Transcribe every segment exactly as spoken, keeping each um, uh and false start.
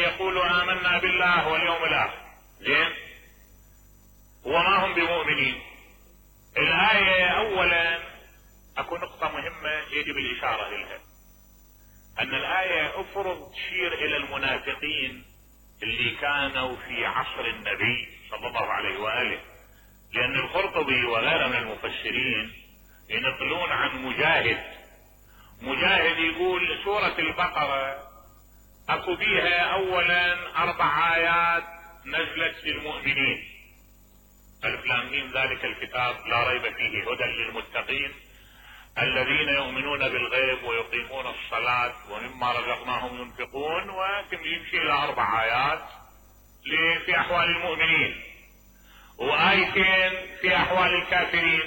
يقولوا آمنا بالله واليوم الآخر، زين، وما هم بمؤمنين. الآية أولا اكو نقطة مهمة يجب الاشارة لها، ان الآية افرض تشير الى المنافقين اللي كانوا في عصر النبي صلى الله عليه وآله، لان القرطبي وغيره من المفسرين ينقلون عن مجاهد. مجاهد يقول سورة البقرة اكو بيها اولا اربع ايات نزلت للمؤمنين، الف لام ميم ذلك الكتاب لا ريب فيه هدى للمتقين الذين يؤمنون بالغيب ويقيمون الصلاة ومما رزقناهم ينفقون، ويمشي الى اربع ايات في احوال المؤمنين، وايتين في احوال الكافرين،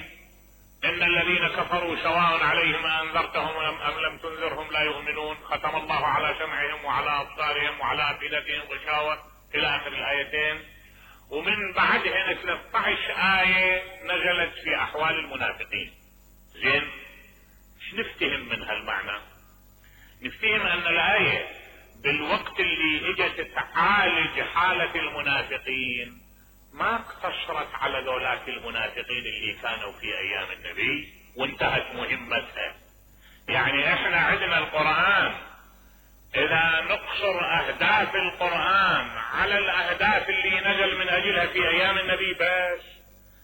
ان الذين كفروا سواء عليهم انذرتهم ام لم تنذرهم لا يؤمنون، ختم الله على سمعهم وعلى ابصارهم وعلى افئدتهم غشاوة الى اخر الايتين. ومن بعدها ثلاثة عشر آية نزلت في احوال المنافقين. زين، ايش نفتهم من هالمعنى؟ نفتهم ان الاية بالوقت اللي اجت تعالج حالة المنافقين ما اقتصرت على ذولاك المنافقين اللي كانوا في ايام النبي وانتهت مهمتها. يعني احنا عندنا القرآن، اذا نقصر اهداف القرآن على الاهداف اللي نزل من اجلها في ايام النبي بس،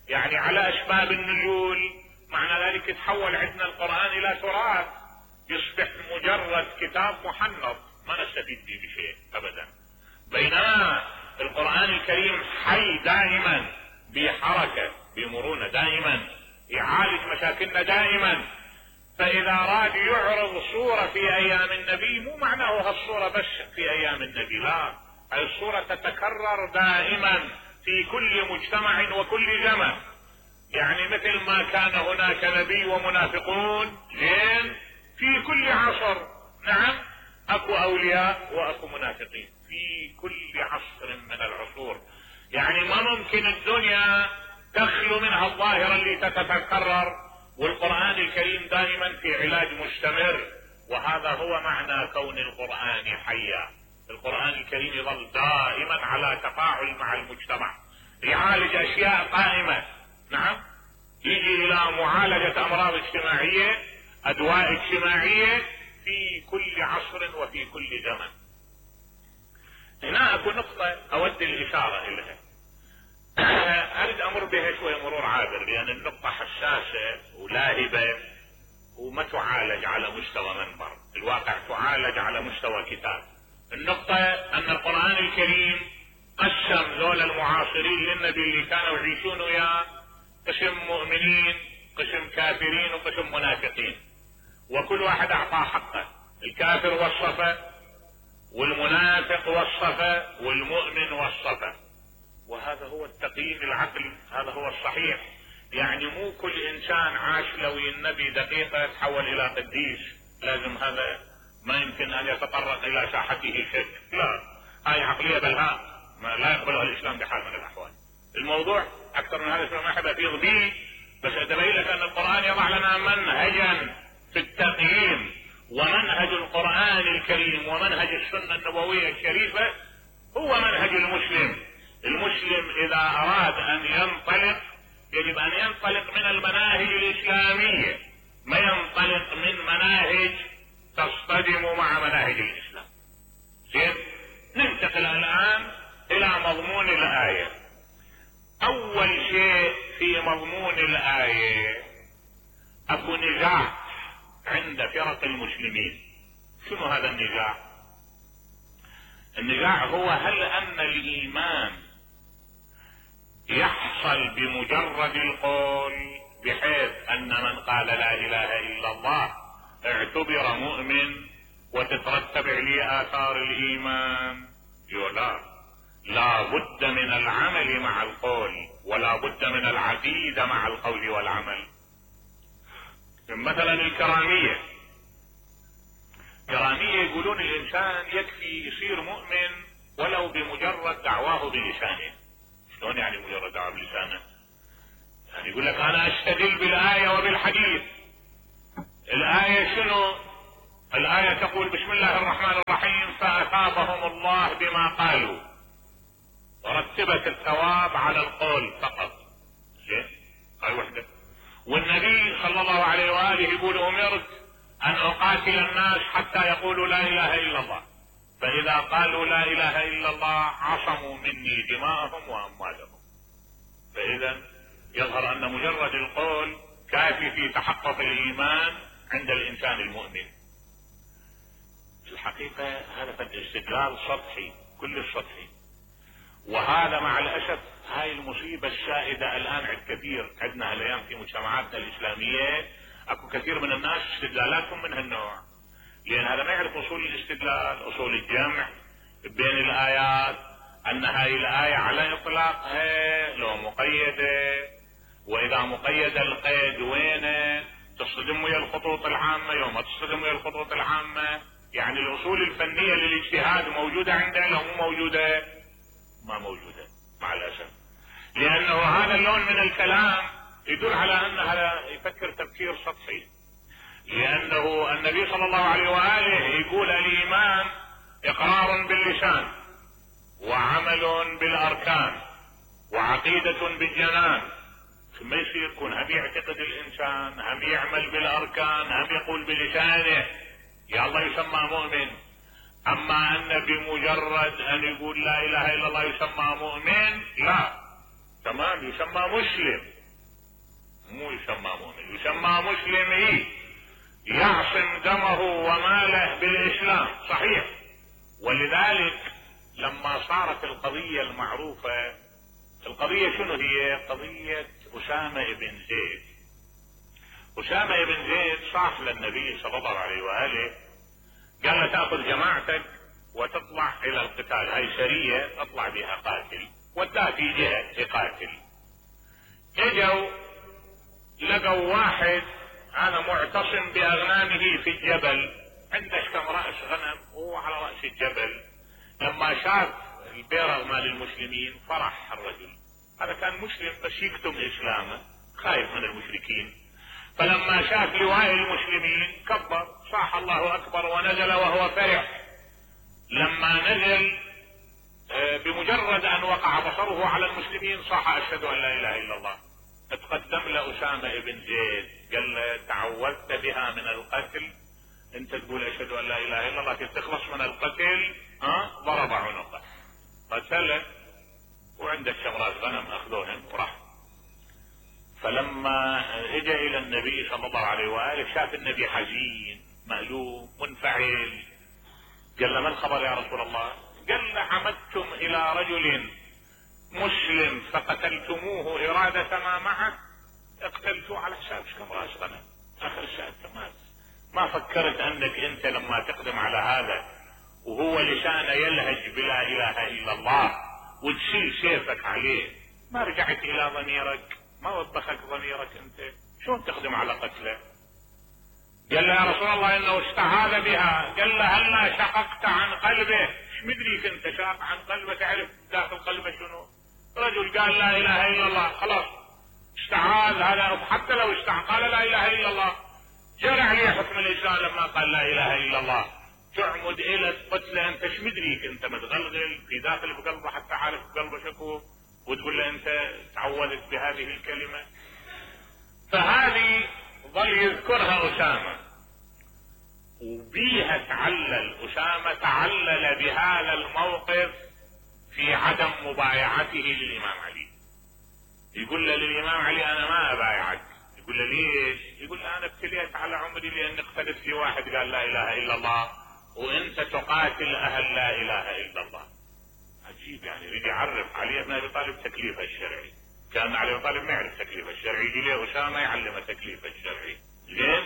يعني على اسباب النزول، معنى ذلك تحول عندنا القرآن الى تراث، يصبح مجرد كتاب محنط ما نستفيد به بشيء ابدا. بينما القرآن الكريم حي دائما، بحركة بمرونة دائما، يعالج مشاكلنا دائما. فاذا راد يعرض صورة في ايام النبي مو معناه هالصورة بس في ايام النبي، لا، هاي الصورة تتكرر دائما في كل مجتمع وكل زمن. يعني مثل ما كان هناك نبي ومنافقون، زين، في كل عصر، نعم، اكو اولياء واكو منافقين في كل عصر من العصور. يعني ما ممكن الدنيا تخلو منها الظاهرة اللي تتكرر، والقرآن الكريم دائما في علاج مستمر. وهذا هو معنى كون القرآن حيا. القرآن الكريم يظل دائما على تفاعل مع المجتمع، يعالج اشياء قائمة، نعم، يجي الى معالجة امراض اجتماعية، ادواء اجتماعية في كل عصر وفي كل زمن. هنا اكو نقطة اود الاشارة اليها، اريد امر بها شوي مرور عابر، لان النقطة حساسة ولاهبة وما تعالج على مستوى منبر، الواقع تعالج على مستوى كتاب. النقطة ان القرآن الكريم قسم ذول المعاصرين للنبي اللي كانوا يعيشون وياه قسم مؤمنين، قسم كافرين، وقسم منافقين، وكل واحد اعطاه حقه. الكافر وصفه، والمنافق وصفه، والمؤمن وصفه. وهذا هو التقييم العقلي، هذا هو الصحيح. يعني مو كل انسان عاش لو النبي دقيقة تحول الى قديس، لازم هذا ما يمكن ان يتطرق الى ساحته شك، لا، هاي عقلية بلهاء ما لا يقبلها الاسلام بحال من الاحوال. الموضوع اكثر من هذا ما احب افيض به، بس اتبين لك ان القرآن يضع لنا منهجا في التقييم، ومنهج القرآن الكريم ومنهج السنة النبوية الشريفة هو منهج المسلم. المسلم اذا اراد ان ينطلق يجب ان ينطلق من المناهج الاسلامية، ما ينطلق من مناهج تصطدم مع مناهج الاسلام. زين، ننتقل الان الى مضمون الاية. اول شيء في مضمون الاية اكو نزاع عند فرق المسلمين. شنو هذا النزاع؟ النزاع هو هل ان الايمان يحصل بمجرد القول، بحيث ان من قال لا اله الا الله اعتبر مؤمن وتترتب عليه اثار الايمان؟ لا، لا بد من العمل مع القول، ولا بد من العقيدة مع القول والعمل. مثلا الكرامية، كرامية يقولون الانسان يكفي يصير مؤمن ولو بمجرد دعواه بلسانه. شلون يعني مجرد دعواه بلسانه؟ يعني يقول لك انا استدل بالآية وبالحديث. الآية شنو؟ الآية تقول بسم الله الرحمن الرحيم فأثابهم الله بما قالوا، ورتبت الثواب على القول فقط. زين، هاي وحدة. والنبي صلى الله عليه وآله يقول أمرت أن أقاتل الناس حتى يقولوا لا إله إلا الله، فإذا قالوا لا إله إلا الله عصموا مني دماءهم وأموالهم. فإذا يظهر أن مجرد القول كافي في تحقق الإيمان عند الإنسان المؤمن. في الحقيقة هذا الاستدلال سطحي، كل السطحي، وهذا مع الأسف هاي المصيبة السائدة الآن عند كثير عندنا الأيام في مجتمعاتنا الإسلامية. أكو كثير من الناس استدلالاتهم من هالنوع، لأن هذا ما يعرف أصول الاستدلال، أصول الجمع بين الآيات، أن هاي الآية على إطلاقها لو مقيدة، وإذا مقيدة القيد وينه، تصطدم ويا الخطوط العامة، يوم تصطدم ويا الخطوط العامة. يعني الأصول الفنية للاجتهاد موجودة عنده لو مو موجودة؟ ما موجودة مع الأسف، لأنه هذا اللون من الكلام يدل على أن هذا يفكر تفكير سطحي. لأنه النبي صلى الله عليه وآله يقول الإيمان إقرار باللسان وعمل بالأركان وعقيدة بالجنان. ثم يصير يكون هم يعتقد الإنسان، هم يعمل بالأركان، هم يقول بلسانه، يا الله يسمى مؤمن. أما أن بمجرد أن يقول لا إله إلا الله يسمى مؤمن، لا، تمام، يسمى مسلم، مو يسمى مؤمن، يسمى مسلم. إيه؟ يعصم دمه وماله بالإسلام، صحيح. ولذلك لما صارت القضية المعروفة، القضية شنو هي؟ قضية أسامة بن زيد. أسامة بن زيد صاح للنبي صلى الله عليه وآله، قال له تأخذ جماعتك وتطلع إلى القتال، هاي سرية اطلع بها قاتل، وداه في جهة يقاتل. اجوا لقوا واحد أنا معتصم بأغنامه في الجبل، عنده كم رأس غنم وهو على رأس الجبل. لما شاف البيرغ مال المسلمين فرح الرجل، هذا كان مسلم بس يكتم إسلامه، خايف من المشركين. فلما شاف لواء المسلمين كبر، صاح الله أكبر، ونزل وهو فرح. لما نزل بمجرد أن وقع بصره على المسلمين صاح أشهد أن لا إله إلا الله. اتقدم لأسامة بن زيد قال له تعوذت بها من القتل، انت تقول اشهد ان لا اله الا الله تخلص من القتل، ها؟ ضرب عنقه، قتله، وعندك شمرات غنم اخذوهم وراح. فلما اجى الى النبي صلى الله عليه واله شاف النبي حزين مألوم منفعل، قال له ما الخبر يا رسول الله؟ قال له عمدتم الى رجل مسلم فقتلتموه إرادة ما معه، اقتلتوه على حساب كم راس غنم، اخر الشهر تمام. ما فكرت انك انت لما تقدم على هذا وهو لسانه يلهج بلا اله الا الله وتشيل سيفك عليه، ما رجعت الى ضميرك؟ ما وبخك ضميرك انت؟ شلون تقدم على قتله؟ قال له يا رسول الله انه استعاذ بها. قال له هلا شققت عن قلبه؟ ايش مدريك انت شاق عن قلبه تعرف داخل قلبه شنو؟ رجل قال لا اله الا الله خلاص استعاذ، هذا حتى لو استعاذ قال لا اله الا الله جرى عليه حكم الاسلام لما قال لا اله الا الله. تعمد الى قتله انت ايش مدريك انت متغلغل في داخل بقلبه حتى عارف بقلبه شكو وتقول له انت تعوذت بهذه الكلمه؟ فهذه ظل يذكرها اسامه وبيها تعلل. اسامه تعلل بهذا الموقف في عدم مبايعته للامام علي. يقول له للامام علي انا ما ابايعك. يقول له ليش؟ يقول له انا ابتليت على عمري لان اختلف في واحد قال لا اله الا الله وانت تقاتل اهل لا اله الا الله. عجيب، يعني يريد يعرف علي بن ابي طالب تكليفه الشرعي. كان علي بن طالب ما يعرف تكليفه الشرعي، يجي له اسامه يعلمه تكليفه الشرعي. زين؟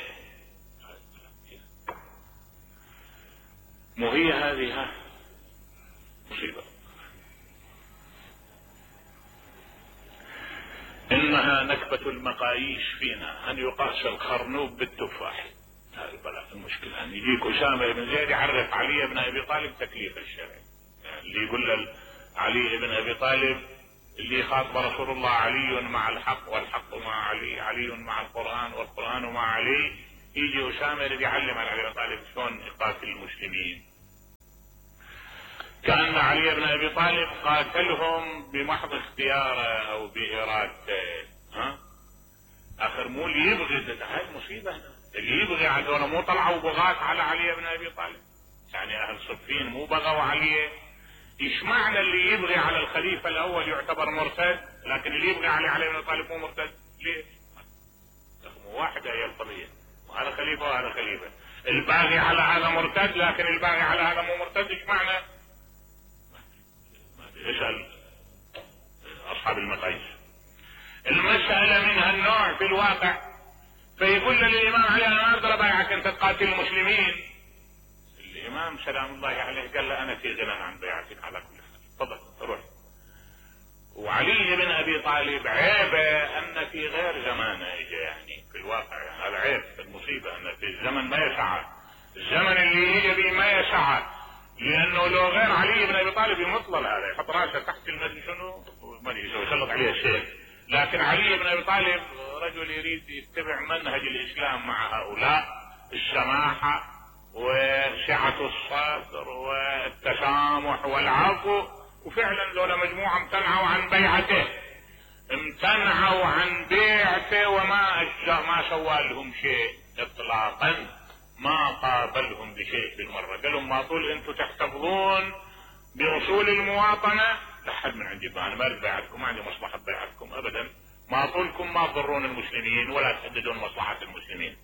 مو هي هذه ها مصيبه. انها نكبة المقاييس فينا ان يقاس الخرنوب بالتفاح. هذا البلاء المشكلة ان يجيك اسامة بن زيد يعرف علي بن ابي طالب تكليف الشرعي. يعني اللي يقول علي بن ابي طالب اللي خاطب رسول الله علي مع الحق والحق مع علي، علي مع القرآن والقرآن مع علي، يجي اسامه يريد يعلم على علي بن طالب شلون يقاتل المسلمين. كان علي بن ابي طالب قاتلهم بمحض اختياره او بارادته. ها اخر مو اللي يبغي، هاي المصيبه هنا، اللي يبغي هذول مو طلعوا بغاة على علي بن ابي طالب، يعني اهل صفين مو بغوا عليه. ايش معنى اللي يبغي على الخليفه الاول يعتبر مرتد، لكن اللي يبغي علي علي بن ابي طالب مو مرتد؟ ليش؟ مو واحده هي القضيه، وهذا خليفه وهذا خليفه. الباغي على هذا مرتد لكن الباغي على هذا مو مرتد، ايش معنى؟ اسال اصحاب المقاييس. المساله من هالنوع في الواقع. فيقول للامام علي انا ما اقدر ابايعك انت تقاتل المسلمين. الامام سلام الله عليه قال له انا في غنى عن بيعتك على كل حال، تفضل روح. وعلي بن ابي طالب عيبه ان في غير زمانه اجى، يعني في الواقع هذا عيب، المصيبه ان في الزمن ما يسعه، الزمن اللي يجي به ما يسعه، لانه لو غير علي بن ابي طالب يمطل هذا يحط راسه تحت المدري شنو ما ادري يسلط عليه السيف. لكن علي بن ابي طالب رجل يريد يتبع منهج الاسلام مع هؤلاء، السماحه وسعه الصدر والتسامح والعفو، وفعلا لولا مجموعه امتنعوا عن بيعته، امتنعوا عن بيعته وما أجزاء ما سوى لهم شيء اطلاقا، ما قابلهم بشيء بالمره، قال لهم ما طول انتم تحتفظون باصول المواطنه لحد من عندي، انا ما اريد بيعتكم، ما عندي مصلحه بيعتكم ابدا، ما طولكم ما تضرون المسلمين ولا تهددون مصلحه المسلمين.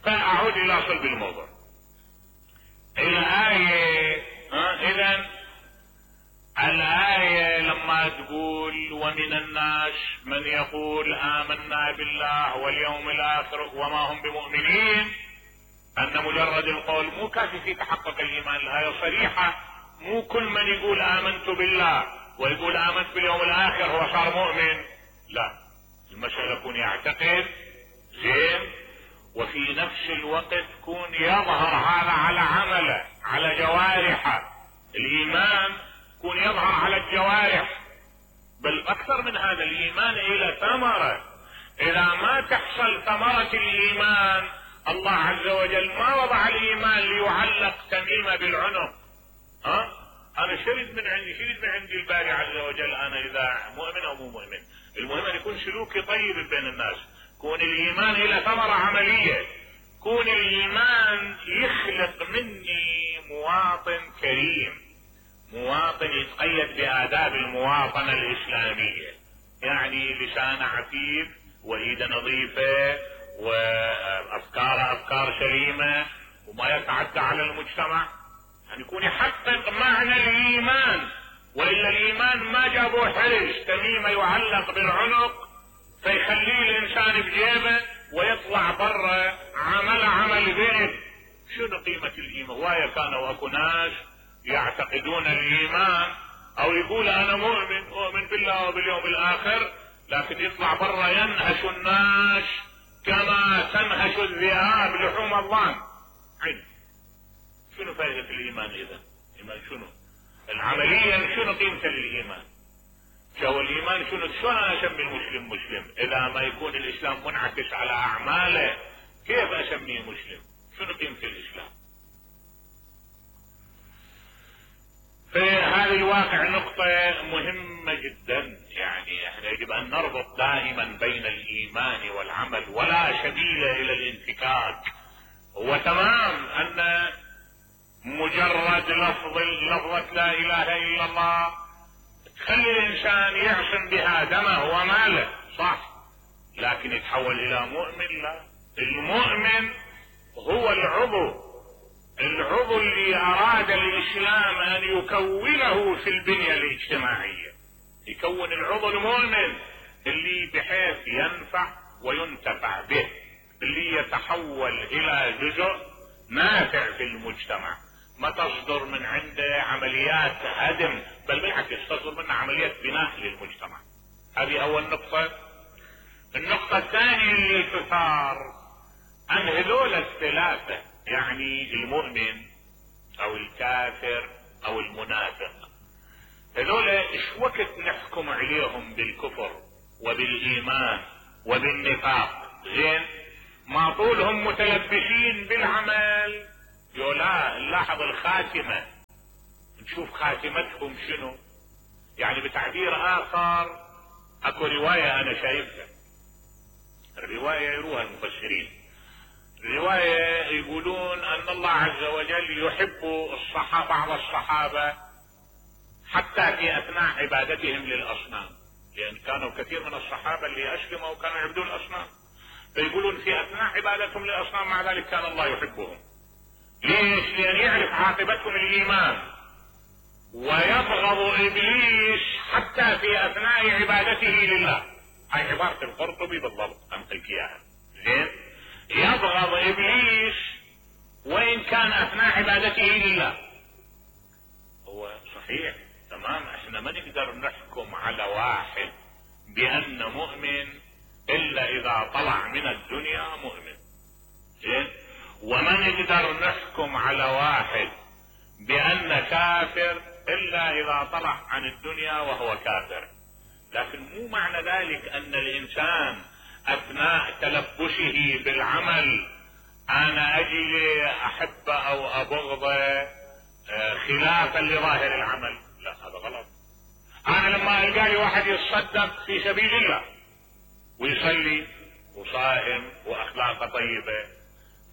فاعود الى صلب الموضوع. الايه اذا الآية لما تقول ومن الناس من يقول آمنا بالله واليوم الآخر وما هم بمؤمنين، أن مجرد القول مو كافي في تحقق الإيمان، الآية صريحة، مو كل من يقول آمنت بالله ويقول آمنت باليوم الآخر هو صار مؤمن، لا، المسألة يكون يعتقد زين وفي نفس الوقت يكون يظهر هذا على عمله على جوارحه، الإيمان يكون يظهر على الجوارح، بل اكثر من هذا الايمان الى ثمرة، اذا ما تحصل ثمرة الايمان الله عز وجل ما وضع الايمان ليعلق تميمة بالعنق. ها انا شرد من عندي شرد من عندي الباري عز وجل انا اذا مؤمن او مو مؤمن، المهم ان يكون سلوكي طيب بين الناس، كون الايمان الى ثمرة عملية، كون الايمان يخلق مني مواطن كريم، مواطن يتقيد بآداب المواطنة الإسلامية، يعني لسان عفيف وإيد نظيفة وأفكار أفكار سليمة وما يتعدى على المجتمع، يعني يكون يحقق معنى الإيمان، وإلا الإيمان ما جابوه حرج تميمة يعلق بالعنق فيخليه الإنسان بجيبه ويطلع برا عمل عمل ذئب. شنو قيمة الإيمان؟ وايا كانوا أكو ناس يعتقدون الايمان او يقول انا مؤمن اؤمن بالله وباليوم الاخر، لكن يطلع برا ينهش الناس كما تنهش الذئاب لحوم الضان. عين شنو فائدة الايمان اذا؟ الايمان شنو؟ العمليا شنو قيمته للايمان؟ شو الايمان شنو؟ شلون انا اسمي المسلم مسلم اذا ما يكون الاسلام منعكس على اعماله؟ كيف اسميه مسلم؟ شنو قيمة الاسلام؟ في هذا الواقع نقطة مهمة جدا، يعني احنا يجب ان نربط دائما بين الايمان والعمل ولا سبيل الى الانفكاك. وتمام ان مجرد لفظ لفظة لا اله الا الله تخلي الانسان يعصم بها دمه وماله، صح، لكن يتحول الى مؤمن؟ لا، المؤمن هو العضو العضو اللي اراد الاسلام ان يكونه في البنية الاجتماعية، يكون العضو المؤمن اللي بحيث ينفع وينتفع به، اللي يتحول الى جزء نافع في المجتمع، ما تصدر من عنده عمليات هدم، بل بالعكس تصدر منه عمليات بناء للمجتمع. هذه اول نقطة. النقطة الثانية اللي تثار ان هذول الثلاثة، يعني المؤمن او الكافر او المنافق، هذول ايش وقت نحكم عليهم بالكفر وبالايمان وبالنفاق؟ زين، ما طولهم متلبسين بالعمل، يولا نلاحظ الخاتمة، نشوف خاتمتهم شنو. يعني بتعبير اخر اكو رواية انا شايفها، الرواية يروها المفسرين، الرواية يقولون ان الله عز وجل يحب الصحابة بعض الصحابة حتى في اثناء عبادتهم للاصنام، لان كانوا كثير من الصحابة اللي اسلموا وكانوا يعبدون الاصنام، فيقولون في اثناء عبادتهم للاصنام مع ذلك كان الله يحبهم. ليش؟ لان يعرف عاقبتهم الايمان، ويبغض ابليس حتى في اثناء عبادته لله. هاي عبارة القرطبي بالضبط انقل اياها. زين؟ يبغض ابليس وان كان اثناء عبادته لله. هو صحيح تمام، احنا ما نقدر نحكم على واحد بان مؤمن الا اذا طلع من الدنيا مؤمن. زين؟ وما نقدر نحكم على واحد بان كافر الا اذا طلع عن الدنيا وهو كافر. لكن مو معنى ذلك ان الانسان اثناء تلبسه بالعمل انا اجي احبه او ابغضه خلافا لظاهر العمل، لا هذا غلط. انا لما القى لي واحد يتصدق في سبيل الله ويصلي وصائم واخلاقه طيبه،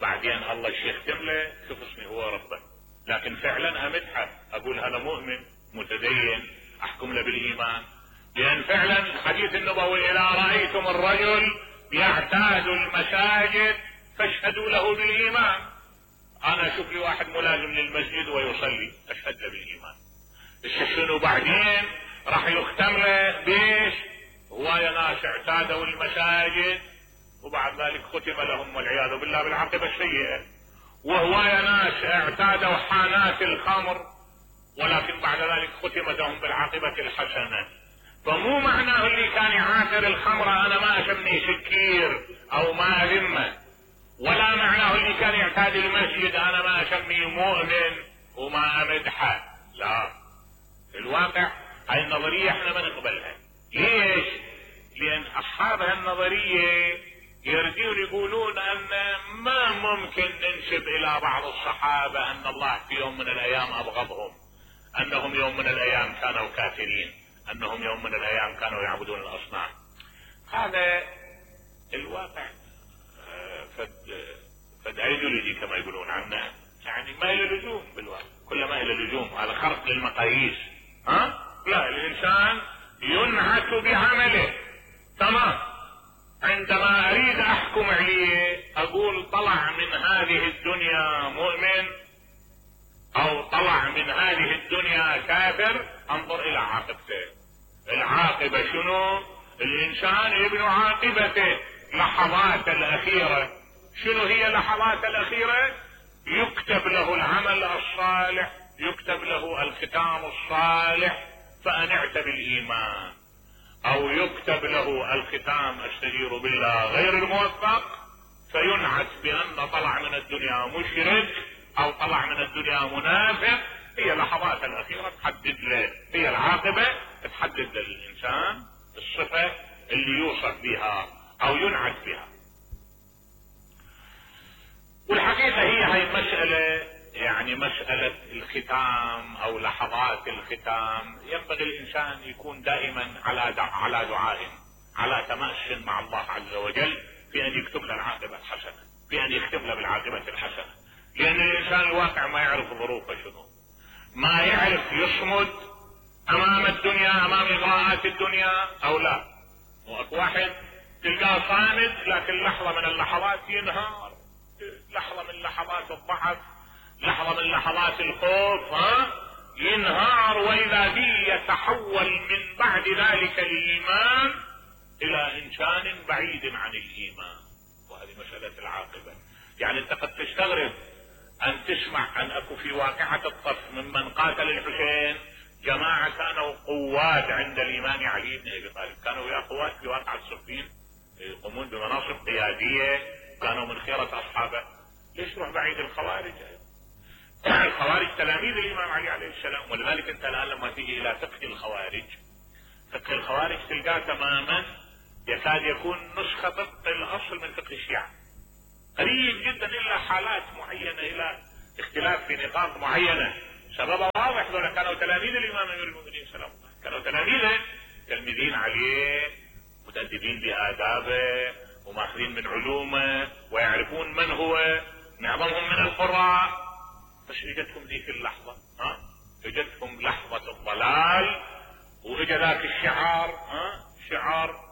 بعدين الله يختم له شوف اسمي هو ربه، لكن فعلا امدحه اقول هذا مؤمن متدين احكم له بالايمان، لان فعلا الحديث النبوي اذا رايتم الرجل يعتاد المساجد فاشهدوا له بالايمان. انا اشوف لي واحد ملازم للمسجد ويصلي اشهد له بالايمان. شنو بعدين راح يختم له بيش؟ هو يا ناس اعتادوا المساجد وبعد ذلك ختم لهم والعياذ بالله بالعاقبة السيئة، وهو يا ناس اعتادوا حانات الخمر ولكن بعد ذلك ختم لهم بالعاقبة الحسنة. فمو معناه اللي كان يعافر الخمر انا ما اسميه سكير او ما اذمه، ولا معناه اللي كان يعتاد المسجد انا ما اسميه مؤمن وما امدحه، لا. الواقع هاي النظرية احنا ما نقبلها. ليش؟ لان اصحاب هالنظرية يردون يقولون ان ما ممكن ننسب الى بعض الصحابة ان الله في يوم من الايام ابغضهم، انهم يوم من الايام كانوا كافرين، انهم يوم من الايام كانوا يعبدون الاصنام. هذا الواقع فد فد ايديولوجي كما يقولون عنه، يعني ما له لزوم بالواقع، كل ما له لزوم هذا خرق للمقاييس. ها؟ لا، الانسان ينعت بعمله. تمام، عندما اريد احكم عليه اقول طلع من هذه الدنيا مؤمن او طلع من هذه الدنيا كافر، انظر الى عاقبته. العاقبة شنو؟ الانسان يبني عاقبته لحظات الاخيرة. شنو هي لحظات الاخيرة؟ يكتب له العمل الصالح، يكتب له الختام الصالح فانعت بالايمان، او يكتب له الختام استجير بالله غير الموفق فينعت بان طلع من الدنيا مشرك او طلع من الدنيا منافق. هي لحظات الاخيرة تحدد له، هي العاقبة تحدد للانسان الصفة اللي يوصف بها او ينعت بها. والحقيقة هي هاي المسألة، يعني مسألة الختام او لحظات الختام، ينبغي الانسان يكون دائما على دع... على دعاء، على تماس مع الله عز وجل في ان يكتب له العاقبة الحسنة، في ان يختم له بالعاقبة الحسنة. لان الانسان الواقع ما يعرف ظروفه شنو، ما يعرف يصمد امام الدنيا، امام اغراءات الدنيا او لا. واكو واحد تلقاه صامد لكن لحظة من اللحظات ينهار، لحظة من لحظات الضعف، لحظة من لحظات الخوف ها ينهار، واذا به يتحول من بعد ذلك الايمان الى انسان بعيد عن الايمان. وهذه مسألة العاقبة. يعني انت قد تستغرب ان تسمع ان اكو في واقعة الطف ممن قاتل الحسين جماعة كانوا قوات عند الامام علي بن ابي طالب، كانوا يا قوات في واقعة صفين يقومون بمناصب قيادية، كانوا من خيرة اصحابه. ليش تروح بعيد الخوارج؟ الخوارج تلاميذ الامام علي عليه السلام. ولذلك انت الان لما تيجي الى فقه الخوارج، فقه الخوارج تلقاه تماما يكاد يكون نسخة طبق الاصل من فقه الشيعة. قريب جدا الا حالات معينة، الى اختلاف في نقاط معينة. سببها واضح، دول كانوا تلاميذ الامام امير المؤمنين سلام الله، كانوا تلاميذه، تلميذين عليه، متأدبين بآدابه وماخذين من علومه ويعرفون من هو، معظمهم من القراء. بس اجتهم ذيك اللحظة، ها اجتهم لحظة الضلال، واجى ذاك الشعار، ها شعار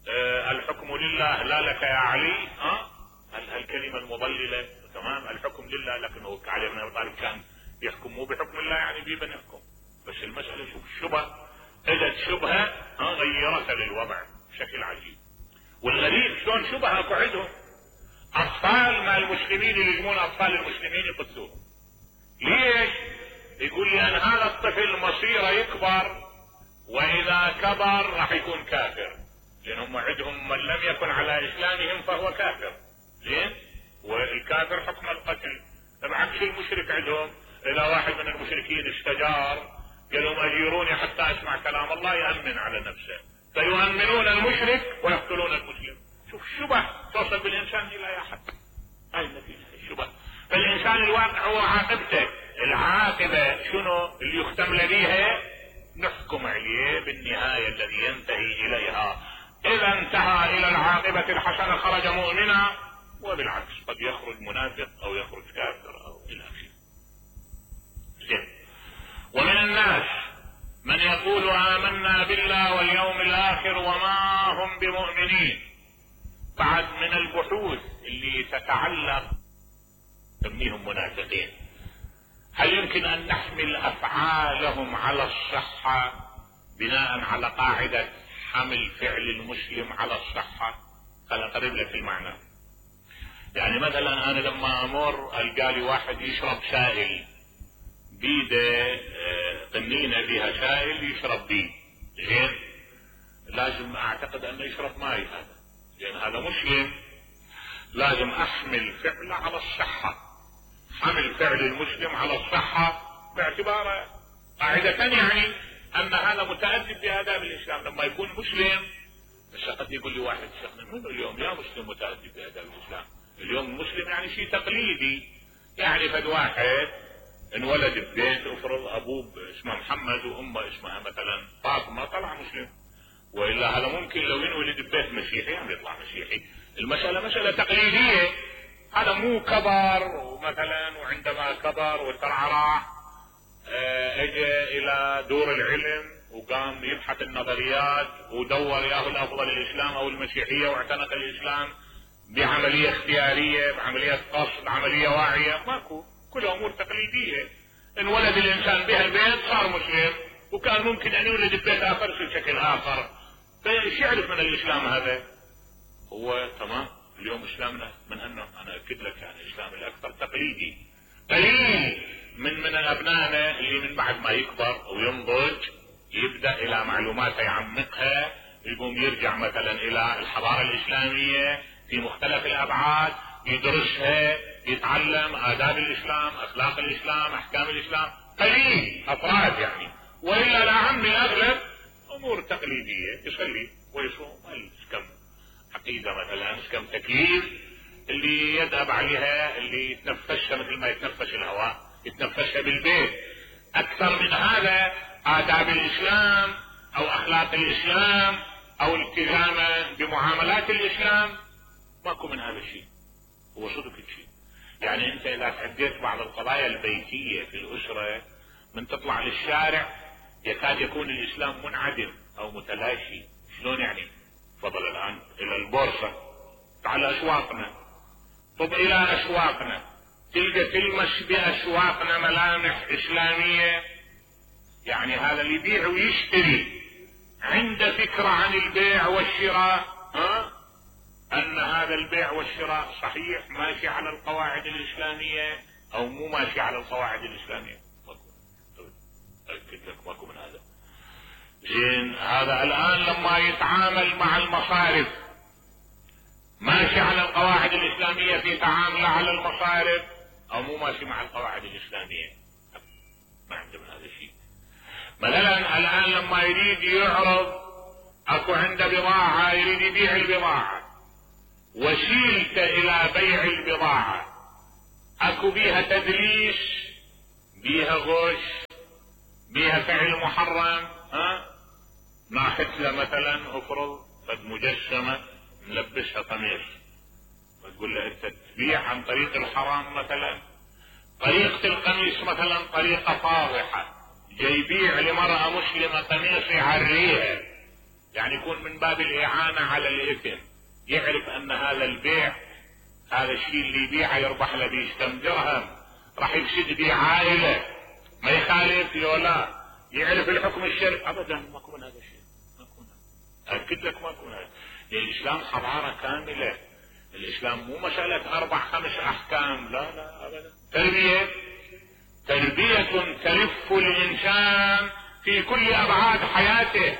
آه الحكم لله لا لك يا علي، ها هالكلمة المضللة، تمام، الحكم لله، لكنه علي بن ابي طالب كان يحكم مو بحكم الله، يعني بيبن يحكم. بس المسألة شوف شبه، اجت شبهة غيرت للوضع بشكل عجيب. والغريب شلون شبهة اكو عندهم اطفال مع المسلمين يلجمون اطفال المسلمين يقتلوهم. ليش؟ يقول لان هذا الطفل مصيره يكبر، واذا كبر راح يكون كافر، لانهم عندهم من لم يكن على اسلامهم فهو كافر. زين؟ والكافر حكم القتل. بعكس المشرك عندهم، اذا واحد من المشركين استجار قال لهم اجيروني حتى اسمع كلام الله، يأمن على نفسه، فيؤمنون المشرك ويقتلون المسلم. شوف شبه توصل بالانسان الى يا حد، هاي النتيجة الشبه. فالانسان الواقع هو عاقبته، العاقبة شنو اللي يختم بها؟ نحكم عليه بالنهاية الذي ينتهي اليها. اذا انتهى الى العاقبة الحسنة خرج مؤمنا، وبالعكس قد يخرج منافق او يخرج كافر او الى اخره. ومن الناس من يقول آمنا بالله واليوم الاخر وما هم بمؤمنين. بعد من البحوث اللي تتعلق تسميهم منافقين، هل يمكن ان نحمل افعالهم على الصحة بناء على قاعدة حمل فعل المسلم على الصحة؟ خليني اقرب لك المعنى. يعني مثلا انا لما امر القالي واحد يشرب سائل بيده قنينة بها سائل يشرب بيه، زين، لازم اعتقد انه يشرب ماي هذا، لان هذا مسلم، لازم احمل فعله على الصحة، حمل فعل المسلم على الصحة باعتباره قاعدة، يعني ان هذا متأدب بآداب الاسلام لما يكون مسلم. بس قد يقول لي واحد شيخنا منو اليوم يا مسلم متأدب بآداب الاسلام؟ اليوم المسلم يعني شيء تقليدي، يعني فد واحد انولد ببيت افرض ابوه اسمه محمد وامه اسمها مثلا فاطمه، طلع مسلم. والا هذا ممكن لو ينولد ببيت مسيحي يعني يطلع مسيحي. المسألة مسألة تقليدية، هذا مو كبر ومثلا وعندما كبر وترعرع اجى الى دور العلم وقام يبحث النظريات ودور ياهو الافضل الاسلام او المسيحية واعتنق الاسلام بعملية اختيارية، بعملية قصد، عملية واعية. ماكو، كل امور تقليدية. انولد الانسان بها البيت صار مسلم، وكان ممكن ان يولد ببيت اخر بشكل اخر. فايش يعرف من الاسلام هذا؟ هو تمام. اليوم اسلامنا من انه انا اكد لك يعني الاسلام الاكثر تقليدي. قليل من من ابنائنا اللي من بعد ما يكبر وينضج يبدا الى معلومات يعمقها، يقوم يرجع مثلا الى الحضارة الاسلامية في مختلف الابعاد، يدرسها، يتعلم آداب الاسلام، اخلاق الاسلام، احكام الاسلام. قليل افراد يعني، والا العام الاغلب امور تقليدية، يصلي ويصوم، كم عقيدة مثلا، كم تكليف اللي يذهب عليها، اللي يتنفسها مثل ما يتنفس الهواء، يتنفسها بالبيت. اكثر من هذا آداب الاسلام او اخلاق الاسلام او التزامه بمعاملات الاسلام ماكو من هذا الشيء. هو صدق الشيء. يعني انت اذا تعديت بعض القضايا البيتية في الاسرة من تطلع للشارع يكاد يكون الاسلام منعدم او متلاشي. شلون يعني؟ تفضل الان الى البورصة، تعال اسواقنا، طب الى اسواقنا تلقى تلمس باسواقنا ملامح اسلامية. يعني هذا اللي يبيع ويشتري عنده فكرة عن البيع والشراء، ها؟ ان هذا البيع والشراء صحيح ماشي على القواعد الاسلامية او مو ماشي على القواعد الاسلامية. اكد لك ماكو من هذا. زين، هذا الان لما يتعامل مع المصارف ماشي على القواعد الاسلامية في تعامله على المصارف او مو ماشي مع القواعد الاسلامية؟ ما عنده من هذا الشيء. مثلا الان لما يريد يعرض، اكو عنده بضاعة يريد يبيع البضاعة، وشيلت الى بيع البضاعة اكو بيها تدليس، بيها غش، بيها فعل محرم، ها ناخذ له مثلا افرض قد مجسمة نلبسها قميص وتقول له انت تبيع عن طريق الحرام مثلا، طريقة القميص مثلا طريقة فاضحة، جاي يبيع لمرأة مسلمة قميص يعريها، يعني يكون من باب الاعانة على الاثم، يعرف ان هذا البيع هذا الشيء اللي يبيعه يربح له بيش كم درهم، راح يفسد بيه عائلة، ما يخالف ولا يعرف الحكم الشرعي ابدا، ماكو من هذا الشيء، ماكو، اكد لك ماكو من هذا. الاسلام حضارة كاملة، الاسلام مو مسألة اربع خمس احكام، لا لا ابدا. تربية تربية تلف الانسان في كل ابعاد حياته،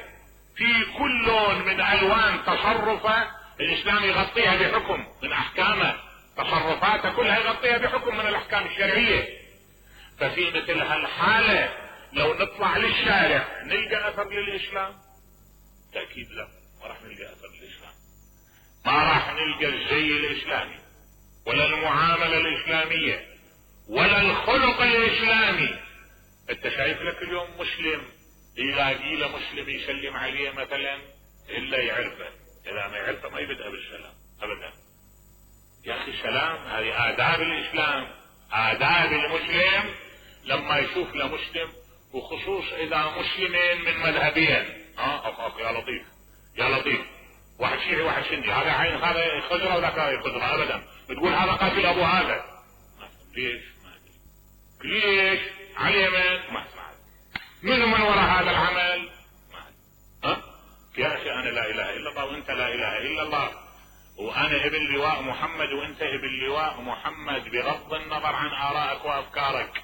في كل لون من الوان تصرفه الاسلام يغطيها بحكم من احكامه، تصرفاته كلها يغطيها بحكم من الاحكام الشرعية. ففي مثل هالحالة لو نطلع للشارع نلقى اثر للاسلام؟ تأكيد لا، ما راح نلقى اثر للاسلام، ما راح نلقى الزي الاسلامي ولا المعاملة الاسلامية ولا الخلق الاسلامي. انت شايف لك اليوم مسلم يلاقي له مسلم يسلم عليه مثلا الا يعرفه، اذا ما يعرفه ما يبدأ بالسلام ابدا. يا اخي السلام هذه آداب الاسلام، آداب المسلم لما يشوف له مسلم، وخصوص اذا مسلمين من مذهبين، ها أخ أخ يا لطيف يا لطيف، واحد شيعي واحد سني، هذا عين هذا خضرة وذاك خضرة ابدا، بتقول هذا قاتل ابو هذا، ليش؟ ما ادري ليش على اليمين، ما اسمع من من وراء هذا العمل، ما ها يا اخي انا لا اله الا الله وانت لا اله الا الله، وانا ابن لواء محمد وانت ابن لواء محمد، بغض النظر عن ارائك وافكارك،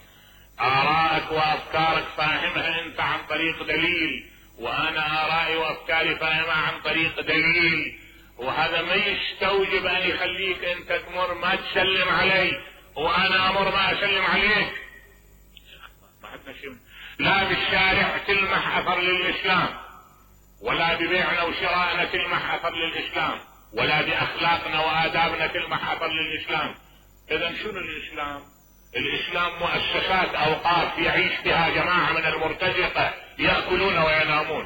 ارائك وافكارك فاهمها انت عن طريق دليل، وانا ارائي وافكاري فاهمها عن طريق دليل، وهذا ما يستوجب ان يخليك انت تمر ما تسلم علي وانا امر ما اسلم عليك. ما عندنا شيء، لا بالشارع تلمح اثر للاسلام، ولا ببيعنا وشرائنا تلمح اثر للاسلام، ولا باخلاقنا وادابنا تلمح اثر للاسلام. اذا شنو الاسلام؟ الاسلام مؤسسات اوقاف يعيش بها جماعة من المرتزقة يأكلون وينامون،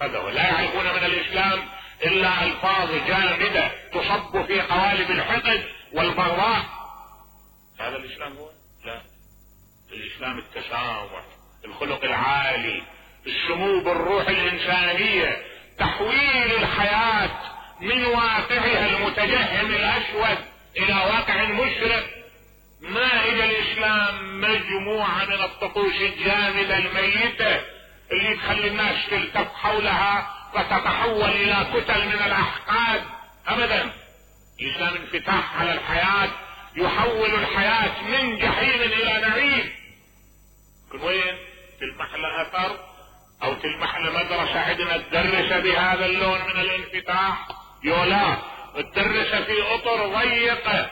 هذا هو، لا يعرفون من الاسلام الا الفاظ جامدة تصب في قوالب الحقد والبغضاء. هذا الاسلام هو؟ لا، الاسلام التسامح، الخلق العالي، السمو بالروح الانسانية، تحويل الحياة من واقعها المتجهم الاسود الى واقع مشرق. مائدة الاسلام مجموعة من الطقوس الجامدة الميتة اللي تخلي الناس تلتف حولها وتتحول الى كتل من الاحقاد ابدا. الاسلام انفتاح على الحياة، يحول الحياة من جحيم الى نعيم. كن وين تلمح له اثر او تلمح له مدرسة عندنا تدرس بهذا اللون من الانفتاح؟ يولا تدرس في اطر ضيقة،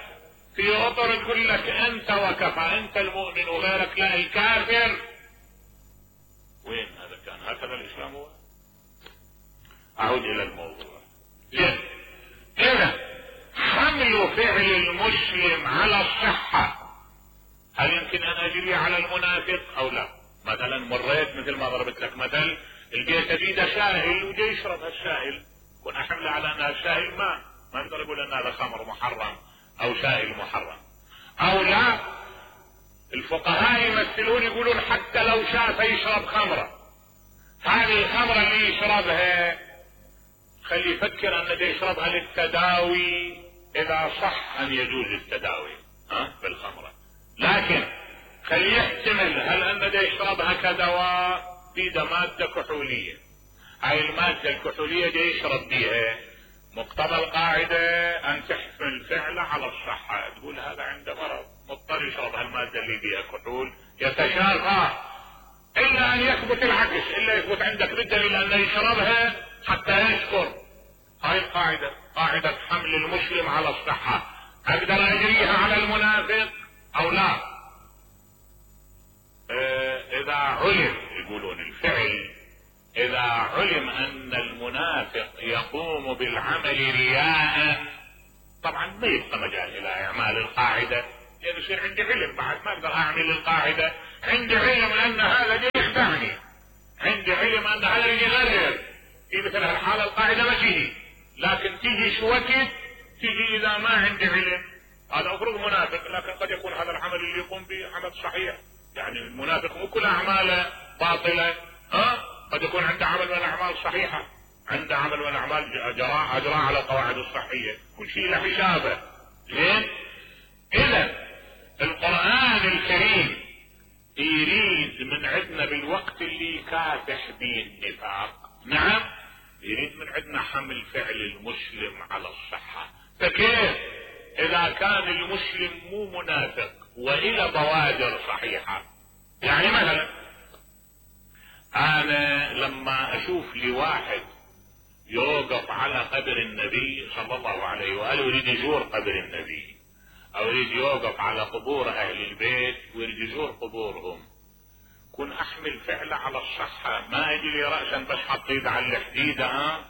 في اطر تقول لك انت وكفى، انت المؤمن وغيرك لا الكافر. وين هذا كان؟ هكذا الاسلام هو. اعود الى الموضوع. زين، اذا حمل فعل المسلم على الصحة هل يمكن ان اجري على المنافق او لا؟ مثلا مريت مثل ما ضربت لك مثل، لقيت بيده سائل وجاي يشرب هالسائل، كنا حمله على ان السائل ماء، ما نقدر نقول ان هذا خمر محرم او سائل محرم او لا. الفقهاء يمثلون يقولون حتى لو شاف يشرب خمرة، هذه الخمرة اللي يشربها خلي يفكر ان ده يشربها للتداوي، اذا صح ان يجوز التداوي ها بالخمرة، لكن خلي يحتمل هل ان ده يشربها كدواء، بيده مادة كحولية، هاي المادة الكحولية دي يشرب بيها، مقتضى القاعدة ان تحمل فعله على الصحة، تقول هذا عنده مرض مضطر يشرب هالمادة اللي بيها كحول يتشافى، الا ان يثبت العكس، الا يثبت عندك بالدليل انه يشربها حتى يشكر. هاي القاعدة، قاعدة حمل المسلم على الصحة، اقدر اجريها على المنافق او لا؟ اه اذا علم، يقولون الفعل اذا علم ان المنافق يقوم بالعمل رياء طبعا ما يبقى مجال الى اعمال القاعدة، لان يصير عندي علم بعد ما اقدر اعمل القاعدة. عندي علم ان هذا جاي يخدعني، عندي علم ان هذا يجي يغرر، في مثل هالحالة القاعدة ما تجي. لكن تجي شو وقت؟ تجي اذا ما عندي علم. هذا مفروض منافق، لكن قد يكون هذا العمل اللي يقوم به عمل صحيح. يعني المنافق مو كل اعماله باطلة، ها؟ قد يكون عنده عمل من الاعمال صحيحة، عنده عمل من الاعمال اجراء اجراء على القواعد الصحية، كل شيء له حسابه. زين؟ اذا القرآن الكريم يريد من عندنا بالوقت اللي يكافح به النفاق، نعم، يريد من عندنا حمل فعل المسلم على الصحة. فكيف اذا كان المسلم مو منافق والى بوادر صحيحة؟ يعني مثلا انا لما اشوف لي واحد يوقف على قبر النبي صلى الله عليه وآله ويريد يزور قبر النبي، او يريد يوقف على قبور اهل البيت ويريد يزور قبورهم، كن احمل فعله على الصحة. ما اجي لي رأسا بس حطيت على الحديدة ها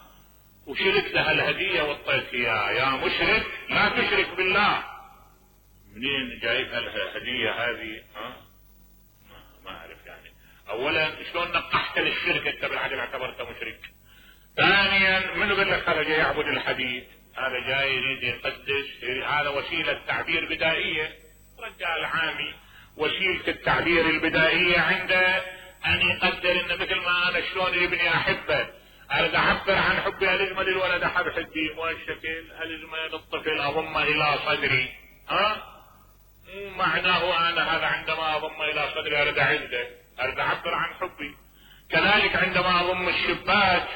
وشركت لها الهدية وطيت اياه، يا مشرك لا تشرك بالله. منين جايب الهدية هذه؟ ها ما اعرف. يعني اولا شلون نقحت للشرك انت بالعدل اعتبرته مشرك؟ ثانيا من يقول لك هذا جاي يعبد الحديد، هذا جاي يريد يقدس، هذا وسيلة تعبير بدائية. رجال عامي وسيلة التعبير البدائية عنده ان يقدر ان مثل ما انا شلون ابني احبه، اريد اعبر عن حبي الجمل الولد احب حدي والشكل الجمل الطفل اضم الى صدري. ها مو معناه انا هذا عندما اضم الى صدري اريد اعزه، اريد اعبر عن حبي. كذلك عندما اضم الشباك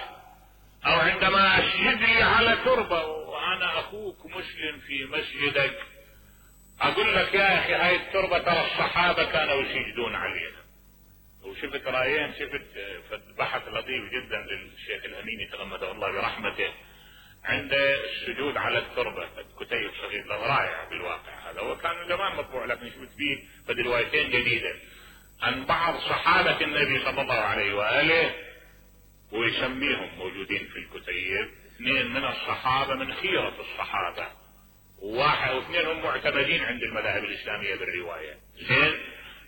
او عندما اسجد لي على تربة وانا اخوك مسلم في مسجدك، اقول لك يا اخي هاي التربة ترى الصحابة كانوا يسجدون عليها. وشفت رايين، شفت بحث لطيف جدا للشيخ الامين يتغمده الله برحمته عند السجود على التربة، كتيب صغير رائع بالواقع. هذا هو كان زمان مطبوع لكن شفت فيه فد روايتين جديدة عن بعض صحابة النبي صلى الله عليه وآله، ويسميهم موجودين في الكتيب اثنين من الصحابة من خيرة الصحابة، وواحد واثنين هم معتمدين عند المذاهب الإسلامية بالرواية. زين؟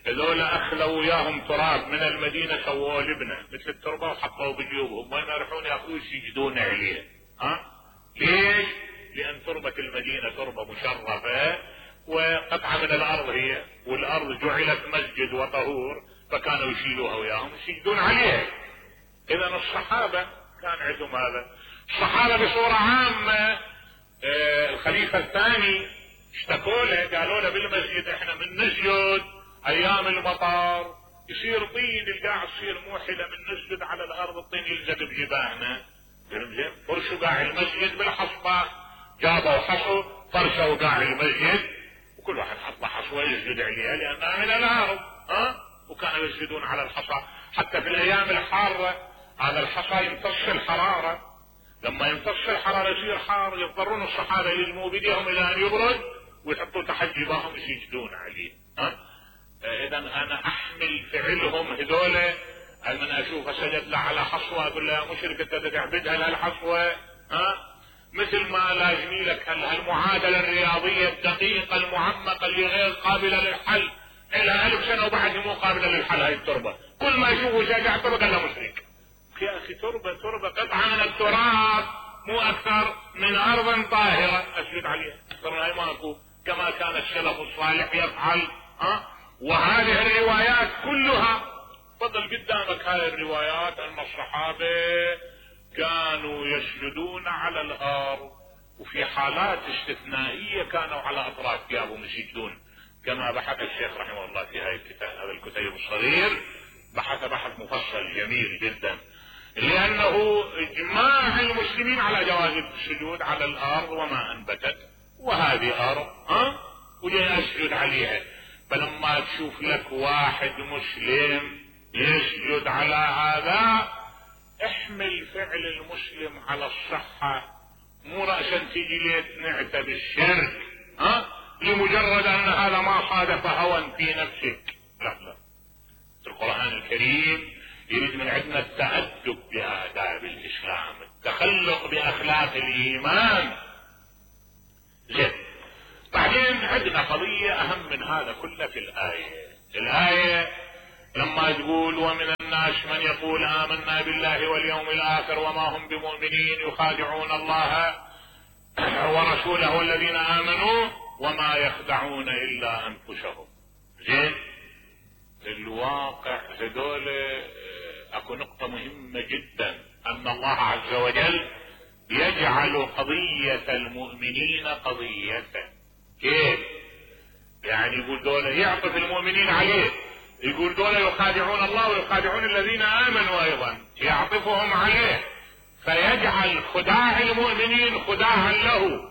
هذول اخذوا وياهم تراب من المدينة سووه لبنة مثل التربة وحطوه بجيوبهم، وين يروحون ياخذوه يسجدون عليه. ها؟ ليش؟ لان تربة المدينة تربة مشرفة وقطعة من الارض هي، والارض جعلت مسجد وطهور، فكانوا يشيلوها وياهم يسجدون عليها. اذا الصحابة كان عندهم هذا. الصحابة بصورة عامة آه الخليفة الثاني اشتكوا له، قالوا له بالمسجد احنا من نسجد ايام المطر يصير طين، القاع تصير موحلة من نسجد على الارض الطين يلزق بجباهنا. فرشوا قاع المسجد بالحصبة، جابوا حصو فرشوا قاع المسجد وكل واحد حط حصوة يسجد عليها لانها من الارض. ها؟ وكانوا يسجدون على الحصى. حتى في الايام الحارة هذا الحصى يمتص الحرارة، لما يمتص الحرارة يصير حار، يضطرون الصحابة يلموا بديهم الى ان يبرد ويحطوا تحت جباههم يسجدون عليه. ها؟ اذا انا احمل فعلهم هذول، من اشوف سجد له على حصوة اقول له يا مشرك انت تعبدها لهالحصوة. ها؟ مثل ما لازمي لك هالمعادلة الرياضية الدقيقة المعمقة اللي غير قابلة للحل، الى الف سنة وبعد مو قابلة للحل هاي التربة، كل ما يشوفه شجاع تربة قال له مشرك. يا اخي تربة تربة قطعة من التراب مو اكثر من ارض طاهرة اسجد عليها، اكثر هاي ماكو، كما كان السلف الصالح يفعل. ها؟ وهذه الروايات كلها فضل قدامك، هاي الروايات ان الصحابة كانوا يسجدون على الارض، وفي حالات استثنائية كانوا على اطراف ثيابهم يسجدون، كما بحث الشيخ رحمه الله في هاي الكتاب، هذا الكتيب الصغير بحث بحث مفصل جميل جدا، لانه اجماع المسلمين على جواز السجود على الارض وما انبتت، وهذه ارض ها وجاي اسجد عليها. فلما تشوف لك واحد مسلم يسجد على هذا، احمل فعل المسلم على الصحة، مو رأسا تجي ليه نعتب الشرك ها لمجرد ان هذا ما صادف هوى في نفسك. لا لا، القرآن الكريم يريد من عندنا التأدب بآداب الإسلام، التخلق بأخلاق الإيمان. زين، عندنا قضية اهم من هذا كله في الآية. الآية لما تقول ومن الناس من يقول آمنا بالله واليوم الآخر وما هم بمؤمنين يخادعون الله ورسوله والذين آمنوا وما يخدعون إلا أنفسهم. زين الواقع هذول اكو نقطة مهمة جدا، ان الله عز وجل يجعل قضية المؤمنين قضيته. كيف؟ يعني يقول دول يعطف المؤمنين عليه، يقول دول يخادعون الله ويخادعون الذين آمنوا ايضا، يعطفهم عليه فيجعل خداع المؤمنين خداعا له.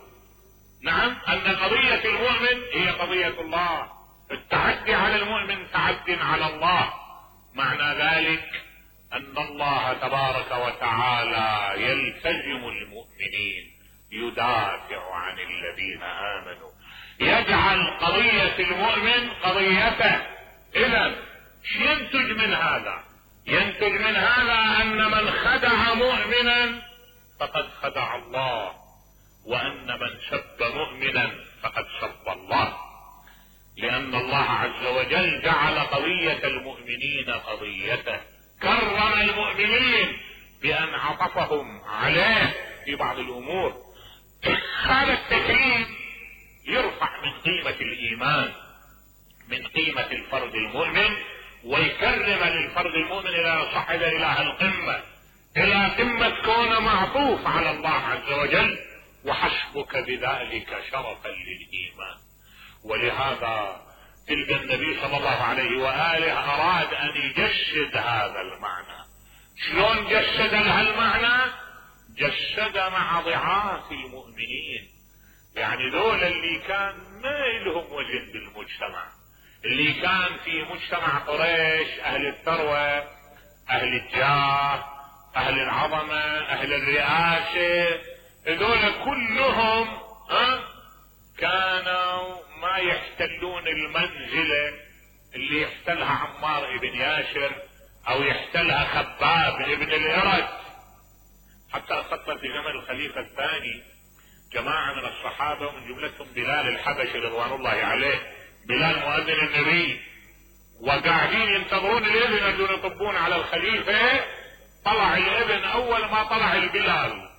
نعم، ان قضية المؤمن هي قضية الله، التعدي على المؤمن تعد على الله. معنى ذلك ان الله تبارك وتعالى يلتزم المؤمنين، يدافع عن الذين آمنوا، يجعل قضية المؤمن قضيته. اذا ينتج من هذا؟ ينتج من هذا ان من خدع مؤمنا فقد خدع الله، وان من سب مؤمنا فقد سب الله، لان الله عز وجل جعل قضية المؤمنين قضيته، كرم المؤمنين بان عطفهم عليه في بعض الامور. هذا التكريم يرفع من قيمة الايمان، من قيمة الفرد المؤمن، ويكرم للفرد المؤمن الى صعد الى القمة، الى قمة كونه معطوف على الله عز وجل، وحسبك بذلك شرفا للايمان. ولهذا تلقى النبي صلى الله عليه وآله اراد ان يجسد هذا المعنى. شلون جسد هالمعنى؟ جسد مع ضعاف المؤمنين، يعني ذول اللي كان ما لهم وزن بالمجتمع، اللي كان في مجتمع قريش اهل الثروة، اهل الجاه، اهل العظمة، اهل الرئاسة، ذول كلهم ها كانوا ما يحتلون المنزلة اللي يحتلها عمار ابن ياسر او يحتلها خباب ابن الارد. حتى خطر في زمن الخليفة الثاني جماعة من الصحابة ومن جملتهم بلال الحبشي رضوان الله عليه، بلال مؤذن النبي، وقاعدين ينتظرون الابن يجون يطبون على الخليفة. طلع الابن اول ما طلع البلال،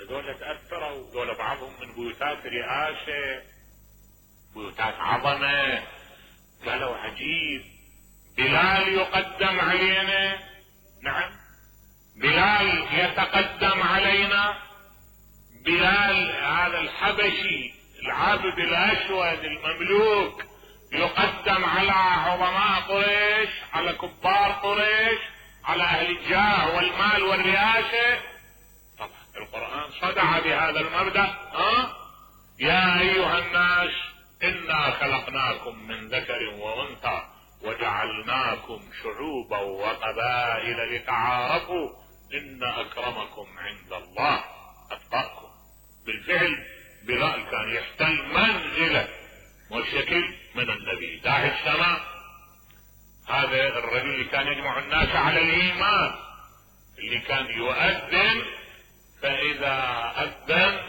هذول تأثروا، هذول بعضهم من بيوتات رئاسة، بيوتات عظمة، قالوا عجيب، بلال يقدم علينا، نعم بلال يتقدم علينا، بلال هذا الحبشي العابد الاسود المملوك يقدم على عظماء قريش، على كبار قريش، على اهل الجاه والمال والرئاسة. طبعا القرآن صدع بهذا المبدأ. ها يا ايها الناس انا خلقناكم من ذكر وانثى وجعلناكم شعوبا وقبائل لتعارفوا ان اكرمكم عند الله اتقاكم. بالفعل بلال كان يحتل منزله وشكل من النبي داعي السماء. هذا الرجل اللي كان يجمع الناس على الايمان، اللي كان يؤذن فاذا اذن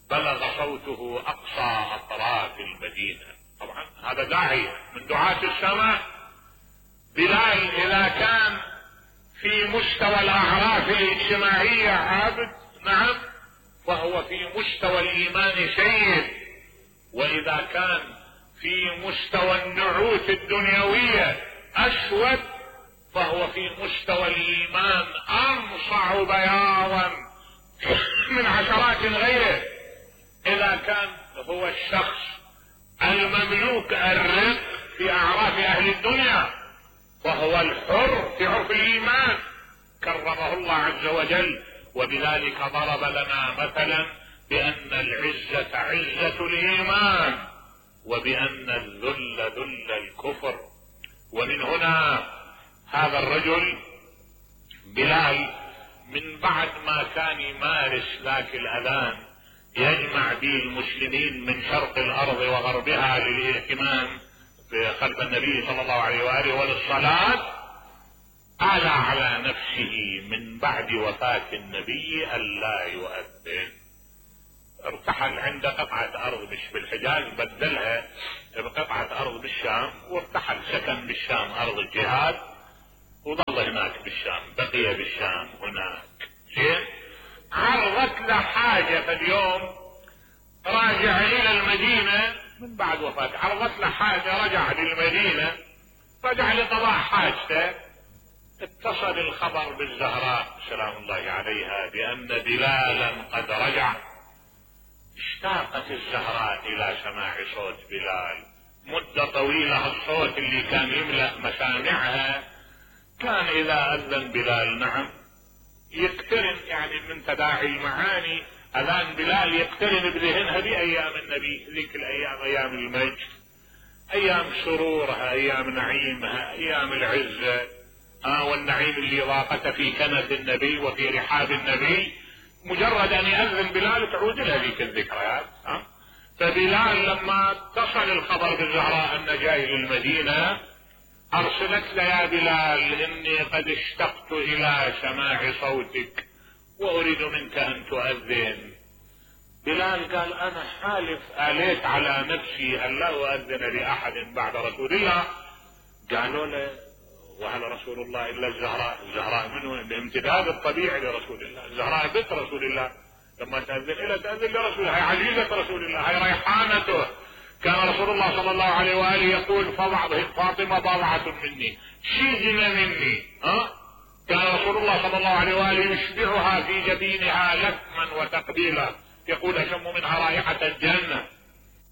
بلغ صوته اقصى اطراف المدينة. طبعا هذا داعي من دعاة السماء. بلال اذا كان في مستوى الاعراف الاجتماعية عابد، نعم، فهو في مستوى الايمان سيد، واذا كان في مستوى النعوت الدنيوية اسود فهو في مستوى الايمان انصع بياضا من عشرات غيره. اذا كان هو الشخص المملوك الرق في اعراف اهل الدنيا فهو الحر في عرف الايمان، كرمه الله عز وجل. وبذلك ضرب لنا مثلا بان العزة عزة الايمان، وبان الذل ذل الكفر. ومن هنا هذا الرجل بلال من بعد ما كان يمارس ذاك الاذان يجمع به المسلمين من شرق الارض وغربها للاهتمام بخلف النبي صلى الله عليه واله وللصلاة، آلى على نفسه من بعد وفاة النبي ألا يؤذن. ارتحل عند قطعة ارض بالحجاز، بدلها بقطعة ارض بالشام، وارتحل سكن بالشام ارض الجهاد، وظل هناك بالشام، بقي بالشام هناك. زين، عرضت له حاجة في اليوم راجع الى المدينة من بعد وفاته، عرضت له حاجة رجع للمدينة، رجع لقضاء حاجته، اتصل الخبر بالزهراء سلام الله عليها بأن بلالا قد رجع. اشتاقت الزهراء الى سماع صوت بلال، مدة طويلة الصوت اللي كان يملأ مسامعها كان اذا اذن بلال نعم يقترن، يعني من تداعي المعاني اذان بلال يقترن بذهنها بايام النبي، ذيك الايام ايام المجد، ايام سرورها، ايام نعيمها، ايام العزة آه والنعيم اللي ضاقته في كنف النبي وفي رحاب النبي. مجرد ان يأذن بلال تعود لها ذيك الذكريات. آه فبلال لما اتصل الخبر بالزهراء ان جاي للمدينة، ارسلت له يا بلال اني قد اشتقت الى سماع صوتك واريد منك ان تؤذن. بلال قال انا حالف اليت على نفسي ان لا اؤذن لاحد بعد رسول الله. قالوا له وهل رسول الله الا الزهراء؟ الزهراء منه الامتداد الطبيعي لرسول الله، الزهراء بنت رسول الله، لما تأذن الى تأذن لرسول الله، هي عزيزة رسول الله، هي ريحانته. كان رسول الله صلى الله عليه وآله يقول فاطمة بضعة مني شيزن مني. ها كان رسول الله صلى الله عليه وآله يشبعها في جبينها لثما وتقبيلا، يقول اشم منها رائحة الجنة.